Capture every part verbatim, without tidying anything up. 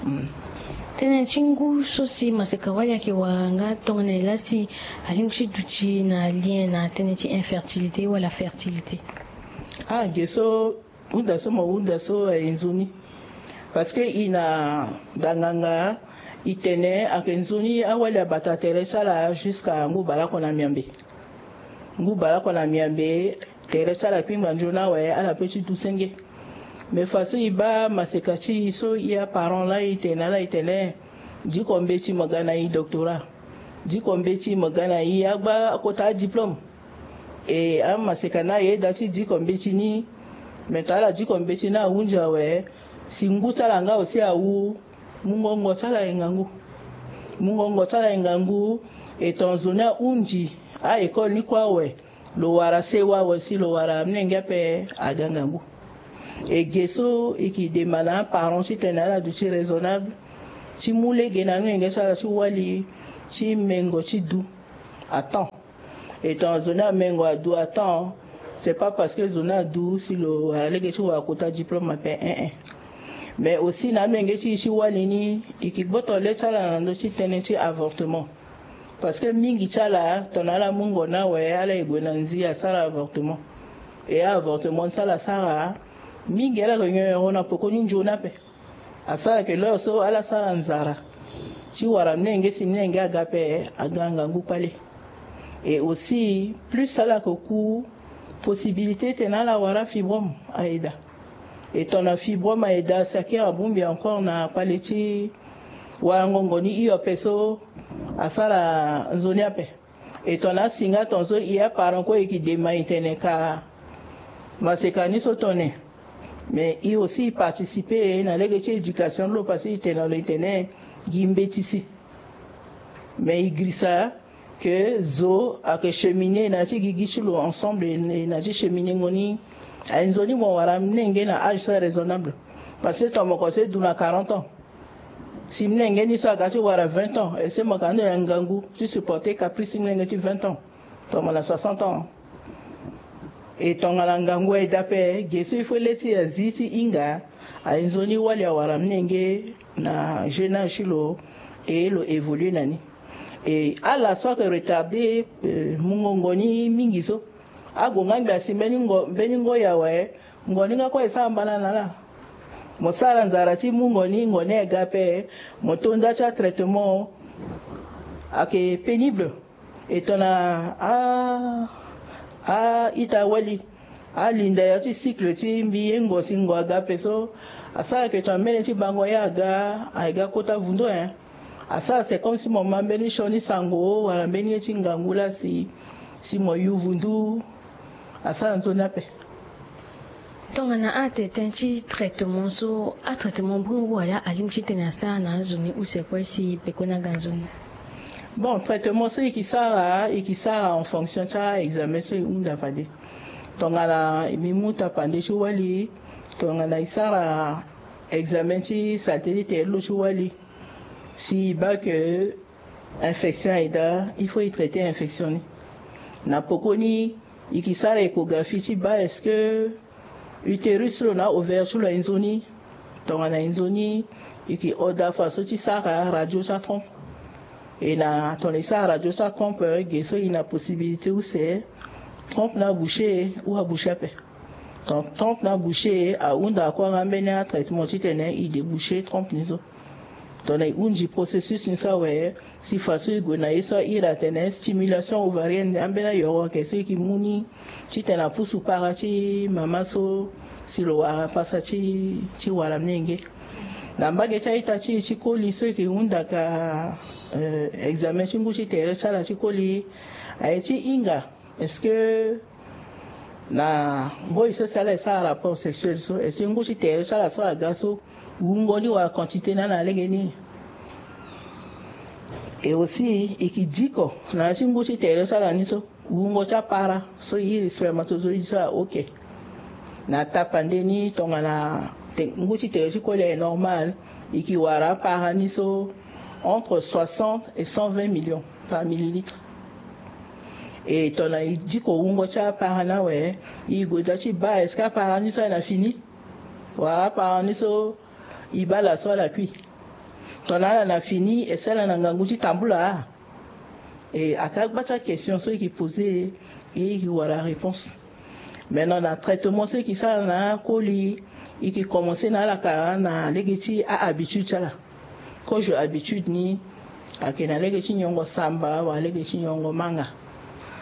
Tënë ti ngu so si maseka wali ayeke wara nga tongana e laa si alingbi ti duti na lien na tënë ti infertilité wala fertilité? Ah, ge so hunda so mo hunda so aye nzoni. Parce que e na danganga e tene ayeke nzoni awali abata tere ti ala jusqu'à ngu baleoko na miambe. Ngu baleoko na miambe, tere ti ala kpingba nzoni awe, ala pe ti du senge. Mais façon e baa maseka ti e so e aparent laa e tene na ala e tene, diko mbeti mo ga na e doctorat, diko mbeti mo ga na e agba akota adiplôme. E amaseka ni aye daa ti diko mbeti ni. Mais tongana ala diko mbeti ni ahunzi awe, si ngu ti ala nga aussi awu, mungongo ti ala aye ngangu. Mungongo ti ala aye ngangu. E tongana nzoni ahunzi a-école ni kue awe, lo wara sewa awe si lo wara amolenge ape aga ngangu. E ge so e ke dema na aparent titene ala duti raisonnable ti mu lege na amolenge ti ala ti wali ti mengo ti du à temps. E tongana nzoni amengo adu à temps, c'est pas parce que nzoni adu si lo wara lege ti wara kota diplôme ape, eh eh. Mais aussi na amolenge ti e ti wali ni, e ke gboto le ti ala na ndö ti tënë ti avortement. Parce que mingi ti ala tongana ala mungo ni awe, ala ye gue na nzi asara avortement. E avortement so ala sara, mingi ala yeke nyonyo na pekoni nzoni ape. Asara ke leo so ala sara nzara ti wara mlenge si mlenge aga ape, aga ngangu kpale. Et aussi plus ala yeke ku, possibilité titene ala wara fibrome aye daa. E tongana fibrome aye daa, si akiri abongbi encore na kpale ti wara ngongo ni hio ape so asara nzoni ape. E tongana asi nga tongaso e aparent kue e ke dema e tene ka maseka ni so tongana. Mais e aussi e participer na lege ti éducation ti lo parce que e tene na lo e tene gi mbeti si. Mais e girisa ke zo ayeke cheminer na ya ti gigi ti lo ensemble, e na ya ti cheminengo ni. Aye nzoni mo wara mlenge na âge so raisonnable. Parce que tongana mo kosa e du na quarante ans, si mlenge ni so aga ti wara vingt ans, est-ce que mo yeke na ndo na ngangu ti supporter caprice ti mlenge ti vingt ans? Tongana soixante ans. E tongana ngangu aye daa ape, ge so il faut le ti azi ti hinga, aye nzoni wali awara mlenge na jeune âge ti lo, e lo évoluer na ni. E ala so ayeke retarder, euh, mungongo ni mingi so, ague nga ngbi asi mbeni ngo, mbeni ngoi awe, ngo ni nga kue e sara mbana na ala. Mo sara nzara ti mungo ni, ngo ni aye ga ape, mo to nda ti atraitement, ayeke pénible. E tongana a, a-ita wali alinda ya ti cycle ti mbi ye ngo si ngo aga ape so, asara ke tongana mbeni ti bango ye aga, aye ga kota vundu, hein. Asara c'est comme si mo ma mbeni sioni sango wala mbeni ye ti ngangu laa si, si mo yu vundu. Asara nzoni ape. Tongana atene ti traitement so, atraitement biri ngu wala alingbi ti tene asara na azo ni use kue si pekoni aga nzoni? Bon, traitement so e ke sara, e ke sara en fonction ti a-examen so e hunda fade. Tongana mbi mu tapande ti wali, tongana e sara examen ti saleté ti tere ti lo ti wali, si e baa ke infection aye daa, il faut e traiter infection ni. Na pekoni e ke sara échographie ti baa est-ce que utérus ti lo na ovaire ti lo aye nzoni. Tongana aye nzoni, e ke oda façon ti sara radio ti atrompe. E na tongana e sara radio ti atrompe, ge so e na possibilité use trompe ni aboucher ou aboucher ape. Donc trompe ni aboucher, ahunda kue nga mbeni atraitement titene e déboucher trompe ni so. Tongana e hunzi processus ni so awe, si façon e gue na ye so a iri atene stimulation ovarienne, ambeni ayoro ayeke so e ke mu ni titene apusu para ti mama so si lo wara pasa ti, ti wara mlenge. Na mbage ti a-ita ti e ti koli so e ke hunda ka, euh, examen ti ngu ti tere ti ala ti koli, aye ti hinga est-ce que na mboi so si ala e sara rapport sexuel so, est-ce que ngu ti tere ti ala so aga so, wungo ni wala quantité ni ala lege ni? Et aussi e ke diko na ya ti ngu ti tere ti ala ni so, wungo ti apara so e iri spermatozoïde so a ok. Na tapande ni tongana te, ngu ti tere ti koli aye normal, e ke wara apara ni so entre soixante et cent vingt millions par millilitre. E tongana e diko wungo ti apara ni awe, e gue daa ti baa est-ce que apara ni so aye na fini, wala apara ni so e baa laso ala kui. Tongana ala na fini e sara na ngangu ti tambula. E aka gba ti akestion so e ke poze e e ke wara réponse. Maintenant na traitement so e ke sara na akoli, e ke commencer na ala ka na lege ti ahabitude ti ala. Kozo habitude ni ayeke na lege ti nyongo samba wala lege ti nyongo manga.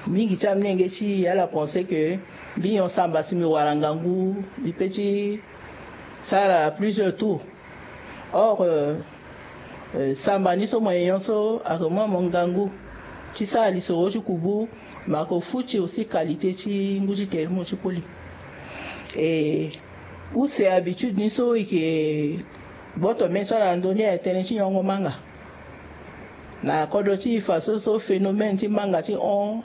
Mingi ti amolenge ti ala pense ke mbi nyon samba si mbi wara ngangu, mbi pe ti sara plusieurs tours. Or samba ni so mo ye nyon so ayeke mu amo ngangu ti sara lisoro ti kubu. Me ayeke futi aussi qualité ti ngu ti tere ti mo ti koli. E use habitude ni so e ke gboto mbeni so ala na ndoni aye tënë ti nyongo manga. Na kodro ti e fa so so phénomène ti manga ti hon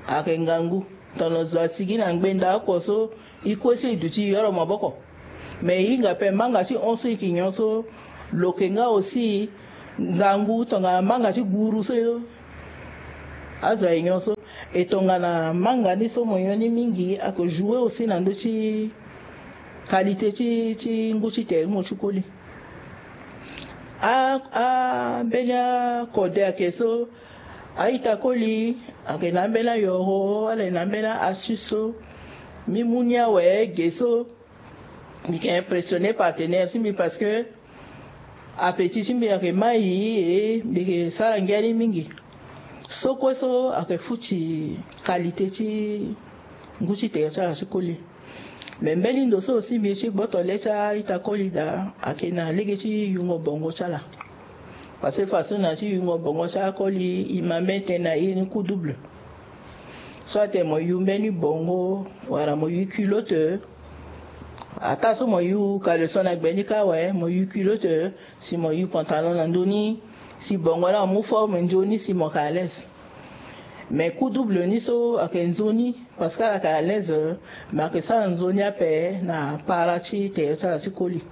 ayeke ngangu. Tongana zo asigi na ngbenda oko so e kue so e duti e yoro maboko. Mais e hinga pe manga ti hon so e ke nyon so lo yeke nga aussi ngangu tongana manga ti guru so azo aye nyon so. E tongana manga ni so mo nyon ni mingi ayeke jouer aussi na ndö ti qualité ti ti ngu ti tere ti mo ti koli. A a mbeni akode ayeke so a-ita koli ayeke na ambeni ayoro ala yeke na ambeni a-astuce so mbi mu ni awe ge so. Mbi yeke impressionner partenaire ti mbi parce que appétit ti mbi ayeke mai e mbi yeke sara ngia ni mingi. So kue so ayeke futi qualité ti ngu ti tere ti ala ti koli. Me mbeni ndo so aussi mbi ye ti gboto le ti a-ita koli daa ayeke na lege ti yungo bongo ti ala. Parce que façon na ti yungo bongo ti akoli e ma mbeni tënë na iri ni coup double. So atene mo yu mbeni bongo wala mo yu culotte. Ataa so mo yu caleçon na gbe ni kâ awe, mo yu culotte si mo yu pantalon na ndö ni. Si bongo ni amu forme nzoni si mo yeke à l'aise. Mais coup double ni so ayeke nzoni parce que ala yeke à l'aise. Me ayeke sara nzoni ape na para ti tere ti ala ti koli.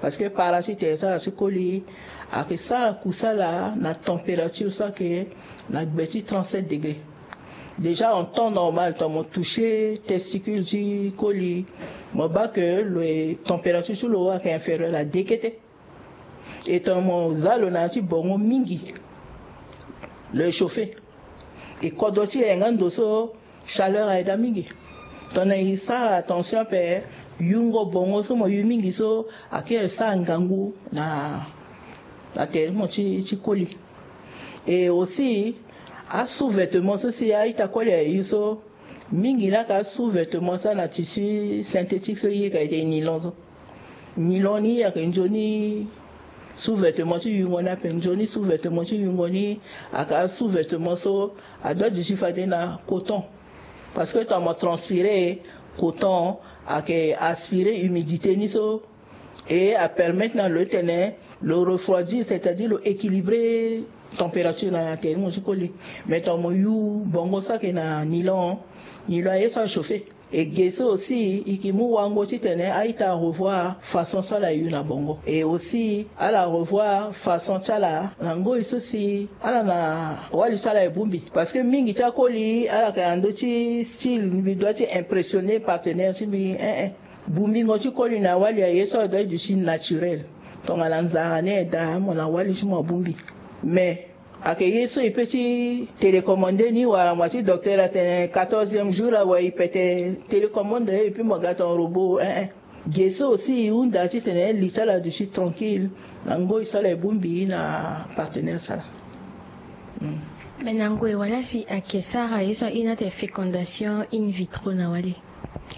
Parce que para ti tere ti ala ti koli ayeke sara kusala na température so ayeke na gbe ti trente-sept degrés. Déjà en temps normal tongana mo toucher testicule ti koli, mo baa ke lo température ti lo ayeke inférieur à deux kete. E tongana mo za lo na ya ti bongo mingi, lo échauffé. E kodro ti e nga ndo so chaleur aye daa mingi. Tongana e sara attention ape, yungo bongo so mo yu mingi so ayeke sara ngangu na na tere ti mo ti ti koli. Et aussi asous-vêtement so si a-ita koli aye yu so, mingi ni ayeke asous-vêtement so a na tissu synthétique so e yeke ayeke nylon so. Nylon ni ayeke nzoni sous-vêtement ti yungo ni ape. Nzoni sous-vêtement ti yungo ni ayeke asous-vêtement so adoit duti fade na coton. Parce que tongana mo transpirer, coton ayeke aspirer humidité ni so. Et apermettre na lo ti tene lo refroidir, c'est-à-dire lo équilibrer température na tere ti mo ti koli. Mais tongana mo yu bongo so ayeke na nylon, nylon aye so achauffer. E ge so aussi e yeke mu wango ti tene a-ita arevoir façon so ala yu na bongo. Et aussi ala revoir façon ti ala na ngoi so si ala na wali so ala ye bongbi. Parce que mingi ti akoli ala yeke na ndö ti style mbi doit ti impressionner partenaire ti mbi, eh eh. Bongbingo ti koli na wali aye so adoit duti naturel. Tongana nzara ni aye daa mo na wali ti mo abongbi. Mais ayeke ye so e pe ti télécommander ni wala mo ya ti docteur atene quatorzième jour awe e pete télécommande et puis mo ga ton robot, eh eh. Ge so aussi e hunda ti tene li ti ala aduti tranquille na ngoi so ala ye bongbi na partenaire ti ala. Me na ngoi wala si ayeke sara ye so airi ni atene fécondation in vitro na wali?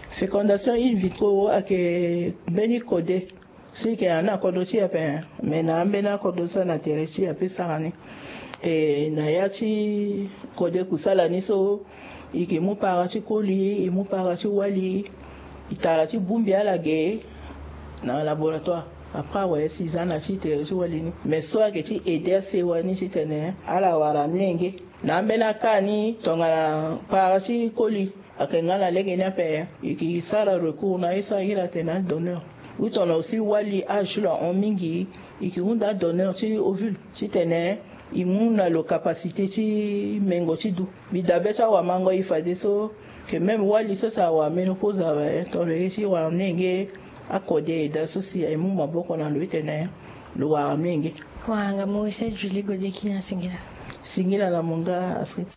Fécondation in vitro ayeke mbeni kode so e yeke na ni na kodro ti e ape. Me na ambeni akodro so na tere ti e ape sara ni. E na ya ti kode kusala ni so e yeke mu para ti koli, e mu para ti wali, e tara ti bongbi ala ge na laboratoire. Après awe si e za na ti tere ti wali ni. Me so ayeke ti aider asewa ni ti tene ala wara mlenge. Na ambeni aka ni tongana para ti koli ayeke nga na lege ni ape, e yeke sara recours na ye so ahiri atene adonneur. Ou tongana aussi wali âge ti lo ahon mingi, e yeke hunda adonneur ti ovule ti tene e mu na lo capacité ti mengo ti du. Mbi dabe ti awamango e fadeso, que même wali so si awara ménopause awe, tongana lo ye ti wara mlenge, akode e daa so si e mu maboko na lo ti tene Lo wara mingi. Wara nga Maurice Julie Gode Kina, singila. Singila na mo nga, Astrid.